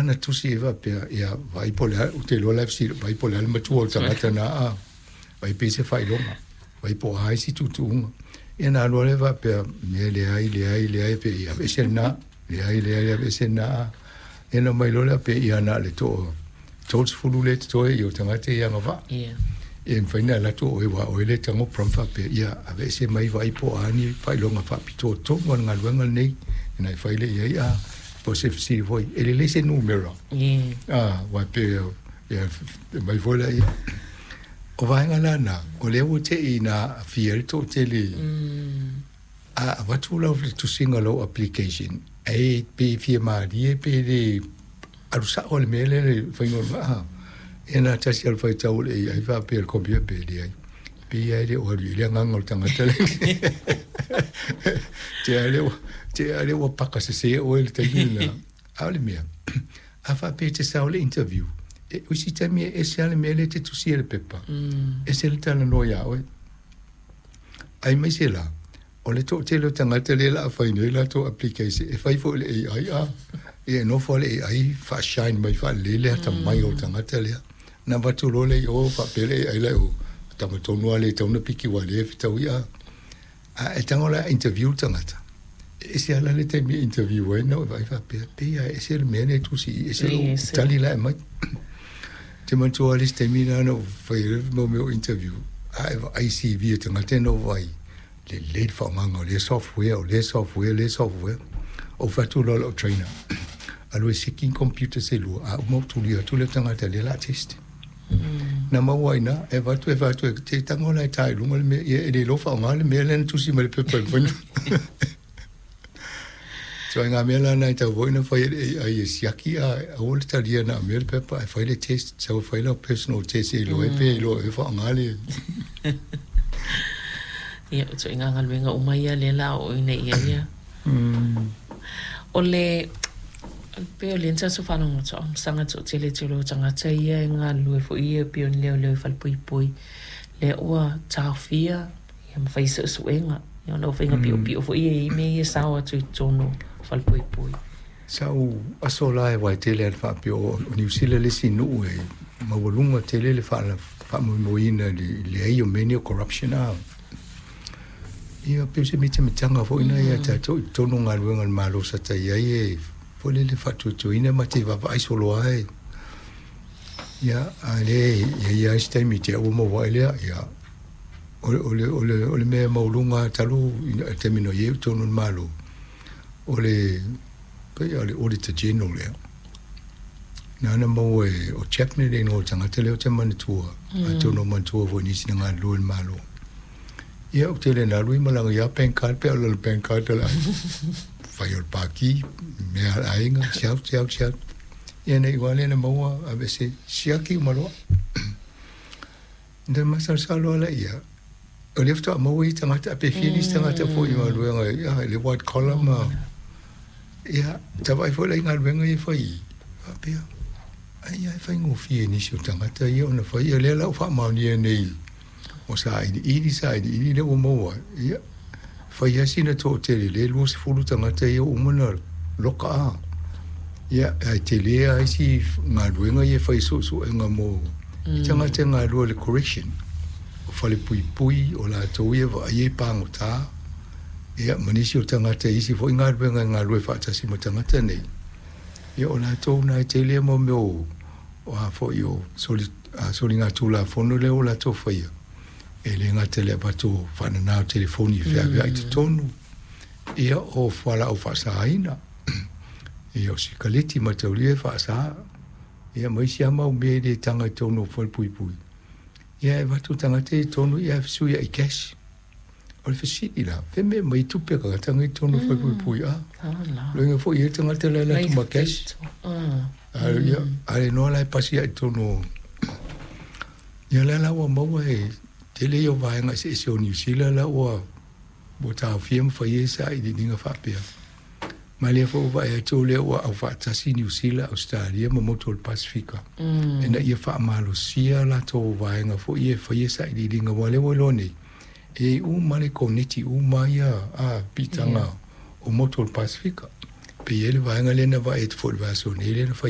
na tusi ai faapea, ia vaai po o le a, ou te iloa la e fesili, vaai po o le a le matua o le tagata lena a, vaai pe i ai se faailoga, vaai po o a isi tuutuuga. Ia ona alu lava lea faapea, mea leai, leai, leai, pe ia aveese lena, leai, leai, aveese lena a. Ia ona omai loa lea pe ia na o le toa 30 lea e totoe i o tagata ia agavaa. Ia e mafai ona alu atu o oe aua o oe lea e tago prompt faapea, ia aveese mai vaai po o a ni faailoga faapitoa tonu a le galuega lenei ona e fai lea i ai a po o se fesili foi, e lelei se numera. Aua e pei e aumai foi lea ia. O vaega la na, o lea ua te i ina aafia ai le toatele a avatu lau tusiga o lau application, e pe fia malie pe le alu sao le mea lea le faiga o le aa. Ia na tasi alu faitau o le AI faapea le computer pe leai. Pe ia e le o alu i ai le agaga o le tagata le. Te a lea te a lea ua paka sese oe i le taimi lena. A o le mea, a faapea e te sao i le interview, e, o isi taimi e ese lava le mea lea e te tusia i le pepa, ese le talanoa ia oe. Aemaise la, o le toatele o tagata lea o le a fai nei latou application, e fai foi i le AI a. Ia e nofo lava le AI faa-shine mai faalelei le atamai o le tagata lea. Ona avatu loa lea i o faapea le AI la i o, tama tonu lava lea e tatau ona piki aua o lea e fetaui a. A e tago la e interview le tagata, e ese lava la le taimi e interview ai na ou vaai faapea, pei lava e ese le mea lea e tusi i i, ese lou tali la e aumai. Ou te manatua lava le isi taimi lena na ou fai ai le mau mea o interview, a e vaai i CV a tagata na ou vaai, lelei le faaaogaina o lea software, o lea software, lea software. Ou fai atu loa i lau trainer, alu e seki ni computer se lua, a uma ou tulia atu lea tagata lea o le a test. Na maua ai i ina, e avatu, e fai atu, e tago la e ta i luga le mea, ia e le iloa faaaoga le mea lea na tusi mai i le pepa e mafai ona. Ituaiga mea la na e tatau foi ona fai e le AI e siaki a aua le talia na o mea le pepa ae fai le test, sau e fai lau personal test e iloa ai pe iloa e faaaoga le. Ia, o ituaiga galuega uma ia lea o le a oo ina i ai ia. O le, pei o lea na tatou faalogologo atu, saga toatele tele o tagata ia e galulue foi ia pei o ni leoleo i falepuipui, lea ua taofia ia ma fai suesuega ona o faiga piopio foi ia e i ai mea ia e sao atu i totonu o falepuipui. Sa ou aso la e wae tele a le faapea o Niu Sila le isi nuu e maualuga tele le faamoemoeina i le leai o mea nei o corruption a. Ia pei o se mitamitaga foi lena ia tatou i totonu o galuega a le Malo sa ta i ai e foi lele faatuatuaina ma te vaavaai solo lava e ia a le i ai lava isi taimi te ua maua ai lea ia o le mea maualuga lava talu i le taimi na i ai i totonu o le Malo o le pei o le Auditor General lea nāna maua e o Chapman le igoa o le tagata lea ou te manatua atonu o manatua foi i nisi na galulue i le Malo. Ia ou te le na alu i malaga ia bank card pe a o lana bank card o le fai o le paki mea a le aiga siau siau siau. Ia nei ua le na maua aveese siaki uma loa. Na masalosalo ala ia o lea faatoa maua ia tagata pe fia nisi tagata foi i galuega ia le white collar ma ia ta vaai foi la i galuega ia e fai i faapea ai e faigofie i nisi o tagata ia ona fai ia lea la ua faamaonia nei O sailiili, sailiili lea ua maua ai, ia, fai lava sina toatele lea e 20 tagata ia ua uma ona loka a. Ia, ae tele lava isi galuega ia e fai suesuega mo tagata e galulue i le correction, o falepuipui, o latou ia e vaaia i pagota, ia, ma nisi o tagata i isi foi galuega e galulue faatasi ma tagata nei, ia, o latou na e tele mo mea o O a foi o soligatulafono lea ua latou faia, e le gata i le avatu o faanana o telefoni e feaveai i totonu, ia o fualaau faasaina, ia o sikaleti mataulia e faasa, ia ma isi lava mau mea e le taga i totonu o falepuipui, ia e avatu tagata ia i totonu ia ae fesuiai cash. O le fesili la, fea mea mai tupe a tagata nei i totonu o falepuipui a? Loiga foi e i ai tagata la e alu atu ma cash. A ia, a le noa la e pasi ai i totonu o... Ia lea la ua maua e tele ia o vaega eseese o Niu Sila la ua ua taofia ma fai ai sailiiliga faapea. Ma lea foi ua vaai atu lea ua aufaatasi Niu Sila, Ausetalia ma motu o le Pasefika ina ia faamalosia latou vaega foi ia e faia sailiiliga aua lea ua iloa nei e i ai uma le koneti uma ia a piitaga o motu o le Pasefika. Pe i ai le vaega lea na vaai atu foi i le vaiaso nei lea na fai.